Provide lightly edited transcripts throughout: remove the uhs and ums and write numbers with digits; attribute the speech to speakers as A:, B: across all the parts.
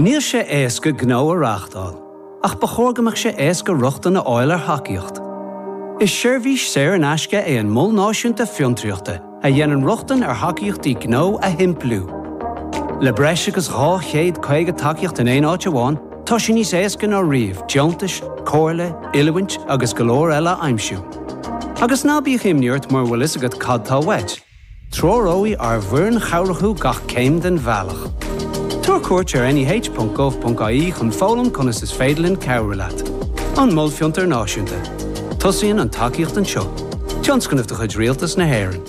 A: Níl sé éasca gnó a reáchtáil, ach ba chóir go mbeadh sé éasca rochtain a fháil ar thacaíocht. Is seirbhís saor in aisce é an Mol Náisiúnta Fiontraíochta a dhéanann rochtain ar thacaíochtaí gnó a shimpliú. Le breis agus 250 tacaíocht in aon áit amháin, tá sé níos éasca ná riamh deontais, comhairle, oiliúint agus go leor eile a aimsiú. Agus ná bíodh imní ort mura bhfuil fhios agat cad tá uait. Treoróidh ár bhfoireann chabhrach thú gach céim den bhealach. Tabhair cuairt ar neh.gov.ie chun foghlaim conas is féidir linn cabhrú leat. An Mol Fiontair Náisiúnta. Tosaíonn an tacaíocht anseo. Tionscnamh de chuid Rialtas na hÉireann.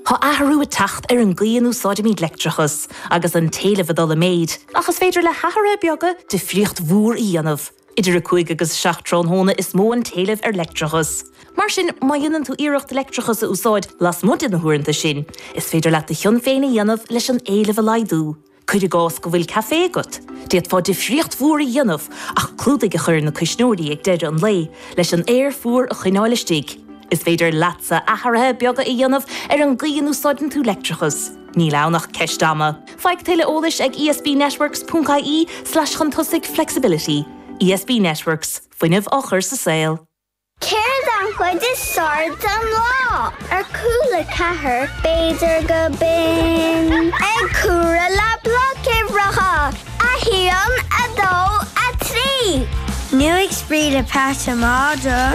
B: Tá athrú ag teacht ar an gcaoi a n-úsáidimid leictreachas, agus an t-éileamh ag dul i méid, ach is féidir le hathruithe beaga difríocht mhór a dhéanamh. Idir 5 agus 7 tráthnóna is mó an t-éileamh ar leictreachas. Mar sin, má dhéanann tú iarracht leictreachas a úsáid lasmuigh de na huaireanta sin, is féidir leat do chion féin a dhéanamh leis an éileamh a laghdú. Cuir i gcás go bhfuil caife agat, d'fhéadfá difríocht mhór a dhéanamh ach clúdaigh a chur ar na cuisneoirí ag deireadh an lae leis an aer fuar a choinneáil istigh. Is féidir leatsa athruithe beaga a dhéanamh ar an gcaoi a n-úsáideann tú leictreachas. Níl ann ach ceist ama. Faigh tuilleadh eolais ag esbnetworks ponc ie slash chun tosaigh flexibility. ESB Networks, fuinneamh á chur sa saol.
C: Céard an chuid is fearr den lá? Ar Cúla 4, b'fhéidir go binn ag comhaireamh le blocuimhreacha, 1, 2, 3.
D: Nó ag spraoi le peata madra.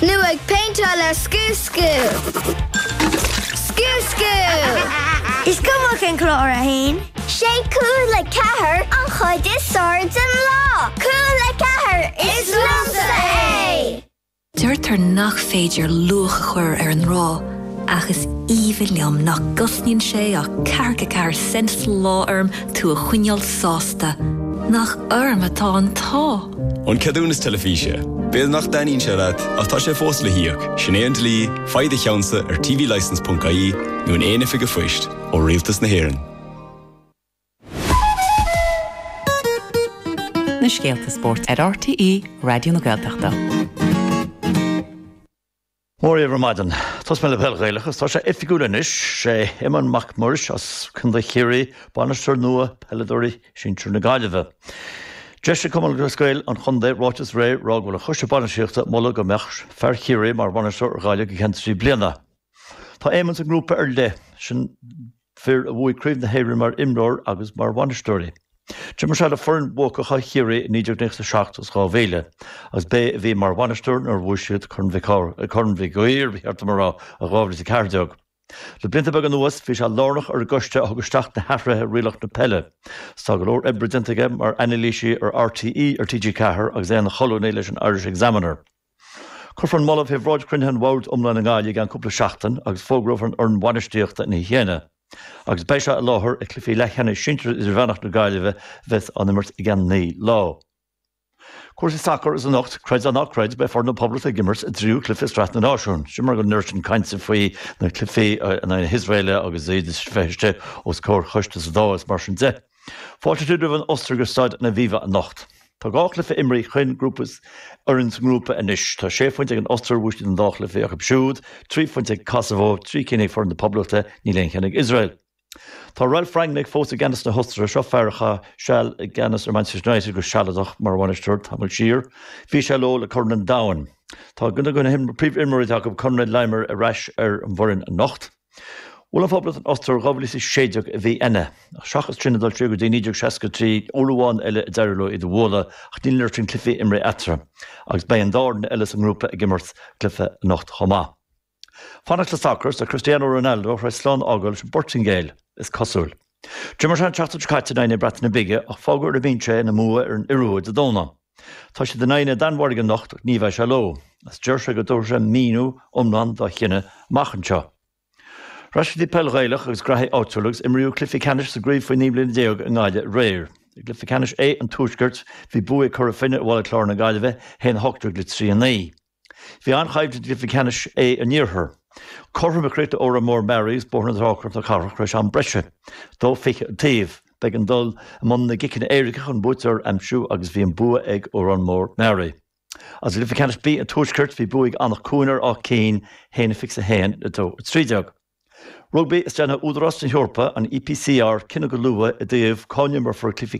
C: Nó ag péinteáil le Scú Scú! Scú Scú!
D: Is cuma cén clár a haon.
C: Sé Cúla 4 an chuid is fearr den lá! Cúla 4, is liomsa é!
E: Deirtear nach féidir luach a chur ar an ngrá, ach is aoibhinn liom nach gcosnaíonn sé ach ceathracha ceathair cent sa lá orm tú a choinneáil sásta. Nach orm atá an t-ádh!
F: An ceadúnas teilifíse. B'fhéidir nach dtaitníonn sé leat, ach tá sé fós le híoc. Sin é an dlí, faigh do cheannsa ar tvlicence.ie nó in aon oifig an phoist ó Rialtas na hÉireann.
G: Na scéalta spóirt ar RTÉ Raidió na Gaeltachta.
H: Mora dhaoibh ar maidin. Tosóidh mé le peil Ghaelach agus tá sé oifigiúil anois, sé Éamonn Mac Muiris as Contae Chiarraí bainisteoir nua peileadóirí sinsir na Gaillimhe. D'eisigh Cumann Lúthchleas Gael an chontae ráiteas aréir ag rá go bhfuil an choiste bainistíochta ag moladh go mbeadh fear Chiarraí mar bhainisteoir ar Ghaillimh go ceann 3 bliana. Tá Éamonn sa ngrúpa ar leith sin. fir a bhuaigh Craobh na hÉireann mar imreoir agus mar bhainisteoirí. D'imir sé le foireann bhuacacha Chiarraí i 1997 agus 2000 agus b'é a bhí mar bhainisteoir nuair a bhuaigh siad Corn Mhic Corn Mhig Uidhir, ba cheart dom a rá, i 2014. Le blianta beaga anuas bhí sé lárnach ar an gcoiste a thug isteach na hathruithe i rialacha na peile. Is tá go leor oibre déanta aige mar anailísí ar RTÉ, ar TG4 agus é ina cholúnaí leis an Irish Examiner. Cuirfear an moladh fé bhráid chruinnithe an Bhoird Iomláin i nGaillimh i gceann cúpla seachtain agus fógrófar an fhoireann bhainistíochta ina dhiaidh chéanna. Agus beidh sé i láthair ag cluichí leathcheannais sinsir idirmheánach na Gaillimhe a bheas á n-imirt i gceann 9 lá. Cúrsaí sacair is anocht, creid é ná creid, beidh foireann na Poblachta ag imirt a dtríú cluiche i Sraith na Náisiún. Sin mar go bhfuil an oiread sin cainte faoi na cluichí in aghaidh na hIosraeile agus iad a bheith istigh os comhair choiste sa Dáil is mar sin de. Fáilte roimh an Ostair go Staid an Aviva anocht. Tá 2 chluiche imrithe ag chaon grúpa fhoireann sa ngrúpa anois. Tá sé phointe ag an Ostair, bhuaigh siad an dá chluiche acu siúd, 3 phointe ag Kosovo, 3 cinn ag foireann na Poblachta, níl aon cheann ag Iosrael. Tá Ralf Rangnick fós i gceannas na hOstaire, seo fear a chaith seal i gceannas ar Manchester United go sealadach mar bhainisteoir tamall siar. Bhí sé leo le Corn an Domhain. Tá duine de na príomhimreoirí atá acu, Konrad Laimer, ar ais ar an bhfoireann anocht. Bhuail an Phoblacht an Ostair 2016 i Vienna. Ach seachas sin ag dul siar go dtí 1963, uair amháin eile a d'éirigh leo iad a bhualadh, ach níl an oiread sin cluichí imrithe eatarthu. Agus beidh an dá fhoireann eile sa ngrúpa ag imirt cluiche anocht chomh maith. Fanacht le sacar, tá Cristiano Ronaldo tar éis slán a fhágáil leis an bPortaingéil, is cosúil. D'imir sé an tseachtain seo caite in aghaidh na Breataine Bige ach fágadh ar an mbinse é ina mbua ar an Iorua Dé Domhnaigh. Tá siad in aghaidh na Danmhairge anocht ach ní bheidh sé leo, agus deir sé go dtabharfaidh sé míniú iomlán dá chinneadh amach anseo. Ar ais go dtí peil Ghaelach agus graithí áitiúla agus imríodh cluichí ceannais sa gcraobh faoi 19 mbliana i nGaillimh aréir. I gcluiche ceannais A an Tuaiscirt, bhí bua ag Cora Finne ar Bhaile Chláir na Gaillimhe, 1-18 le 3-9. Bhí an-choimhlint i gcluiche ceannais A an Iarthair. Cothrom a chríochnaigh Órán Mór Meáraí agus Bóthar na Trá Cnoc na Cathrach tar éis am breise. 2-20 an taobh. B'éigean dul i mbun na gciceanna éirice chun buaiteoir a aimsiú agus bhí an bua ag Órán Mór Meáraí. Agus i gcluiche ceannais B an Tuaiscirt bhí bua ag Anach Cuain ar Áth Cinn, 1-21 le 2-13. Rugbaí is déanfaidh Údarás na hEorpa, an EPCR, cinneadh go luath i dtaobh cá n-imreofar cluichí.